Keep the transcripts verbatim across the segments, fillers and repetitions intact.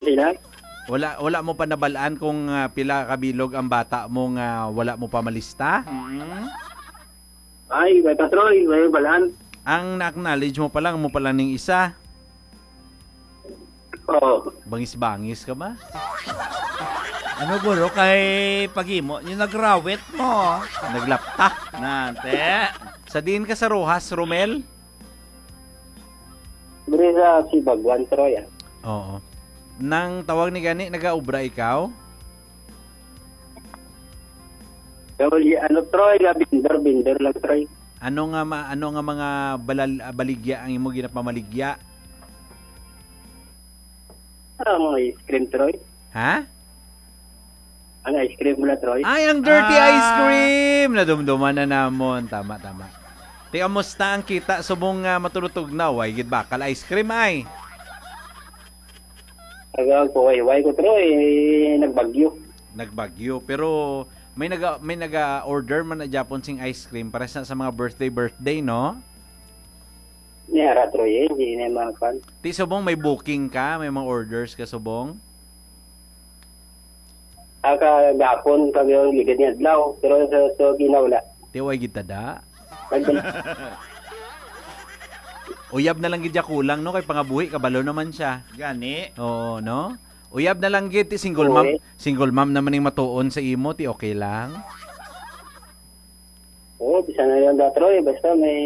Sila? Wala, wala mo pa nabalaan kung, ah, pila ka bilog ang bata mo nga wala mo pa malista? Mm. Ay, may pa, Troy. May balaan. Ang na-acknowledge mo pa lang, mo pa lang ning isa. Oo. Bangis-bangis ka ba? Ano, guro, kay paghimo niyo nagrawit mo? Naglapta. Nante. Sa diin ka sa Roxas, Romel? Diri sa Sibagwan, Troy, ah. Oo. Nang tawag ni gani, nagaobra ikaw? Pero, y-, ano, Troy, nga vendor, vendor lang, Troy. Ano nga ma-, ano nga mga balal-, ah, baligya ang imo ginapamaligya? Ah, mga ice cream, Troy. Ha? Ang ice cream mo na, Troy. Ay, ang dirty Ah. ice cream! Nadumduman na namon. Tama, tama. Ti, kamusta ang kita subong nga matulutog na? Way gid bakal ice cream, ay. Aga ko, way, way ko, Troy. Nagbagyo. Nagbagyo. Pero may naga-, may naga-order man na Japon sing ice cream para sa, sa mga birthday, birthday, no? Ni ara, Troy, eh, hindi na mga fan. Ti subong may booking ka, may mga orders ka subong? Ah, kagapon, kag yung ligid niya adlaw, pero sa, sa ginaw, wala. Ti way gid tada. Nag- Uyab na lang gid ya kulang, no, kay pangabuhi kabalo naman siya. Gani. Oo, no? Uyab na lang gid, ti single Oo, mom, eh. Single mom naman ning matuon sa imo, ti okay lang. Oo, bisan na lang da, Troy, basta may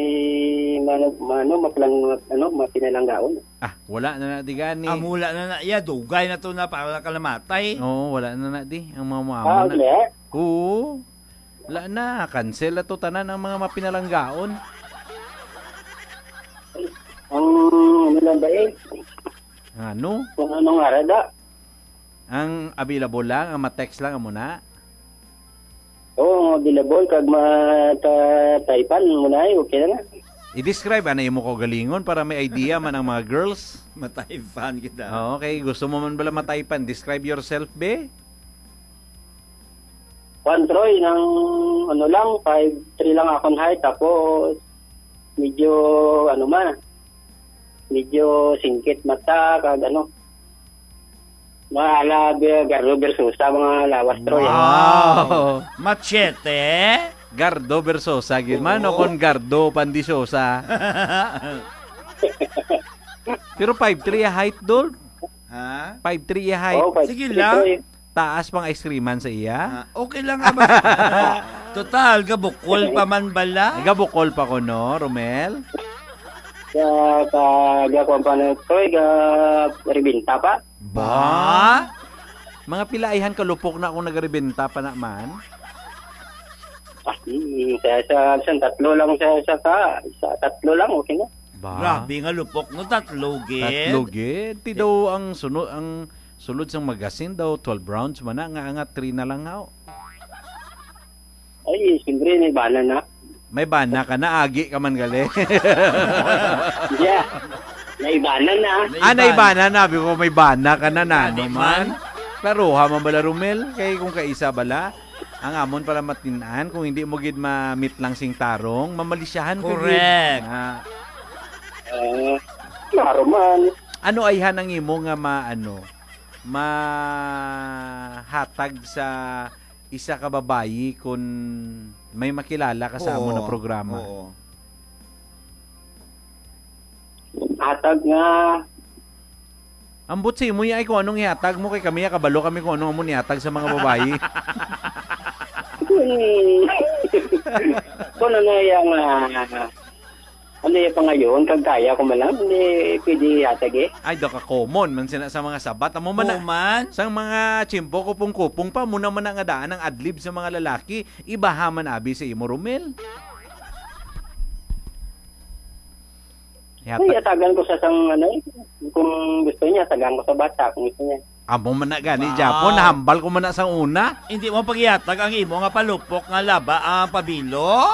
mano, mano, maplang, ano, mapinalanggaon. Ah, wala na na di gani. Amo wala na na iya, dugay na to na para kalamatay. Oo, wala na na di ang mga Ah, muamo na. Wala? Oo. Wala na, cancel na to tanan ang mga mapinalanggaon. Ang ano lang ba eh? Ano? Kung anong arada. Ang available lang, ang ma-text lang, amo na? Oo, ang available, kag mata-typean mo na eh, okay na na. I-describe, ano, imo kaugalingon para may idea man ang mga girls? Mataypan kita. Oo, okay. Gusto mo man bala mataypan? Describe yourself, be. Kuwan, Troy, nang ano lang, five three lang akong height, tapos medyo, ano man, medyo singkit mata, kag ano, mga ala, Gardo Versosa, mga lawas, Troy. Wow! Machete? Gardo Versosa, gid man, o Oo. Kon Gardo Pandisyosa. Pero five three ang height, Dol. Ha? Five three ang height. Oo, five three, Sige lang. Troy. Taas pang ice cream man sa iya. Ah, okay lang nga ba? Total, gabukol pa man bala. Gabukol pa ko, no, Romel? Sa, sa, gakuan pa na, Troy, ga, ribinta pa. Ba? Mga pilaihan ka lupok na akong nagaribenta pa naman. Ah, mm, sa, sa, sa tatlo lang, sa, sa, sa, sa tatlo lang, okay na. Ba? Grabe nga lupok, no? Tatlo gid. Tatlo gid. Ti daw ang suno-, ang sulod sang magasin daw, twelve rounds man na, nga, nga three na lang, haw. Ay, siyempre, may bana na. May bana ka na, agi ka man gali. Yeah. May bana na. Ah, naibanan na. Abi ko, may bana ka na, na, Adi no, man. Man. Klaruha man bala, Romel? Kay kung kaisa bala, ang amon pala matin-an, kung hindi mo gid ma-meet lang sing tarong, mamalisyahan ka gid. Correct. Ah. Ah, klaro man. Ano ayhan ang imo nga ma-, ano, mahatag sa isa ka babayi kun may makilala ka sa amo na Oo. Programa? Oo. Hatag nga Ambot sa imo, ay, kung anong ihatag mo, kay kami, kabalo kami kung anong amo nihatag sa mga babayi. Kung, kung ano yung, ah, ano yung pangayoon, kag kaya ko man lang, hindi pwede ihatag eh. Ay, daw ka common man sina sa mga sabat. Amo man na, Common? Sang mga tsimpo, kupong-kupong pa, muna man na nga daan ang adlib sa mga lalaki, ibaha man abi sa imo, Romel. Yata. Ay, atagan ko sa sang, ano, eh, kung gusto niya, atagan ko sa bata, kung gusto niya. Amo man na gani, Wow. Japon, nahambal ko man na sang una. Hindi mo pagihatag ang imo nga palupok nga laba ang pabilo?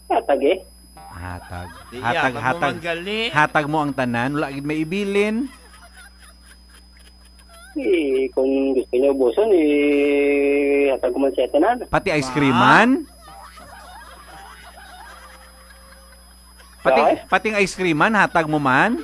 Hatag eh. Hatag. Di Hatag, iya, hatag. Pagmamanggali. Hatag mo ang tanan, wala gid may ibilin. Eh, kung gusto niyo ubuson, eh, hatag ko man siya tanan. Pati ice cream Ba? Man? Pati, Ay? Pating ice cream man, hatag mo man?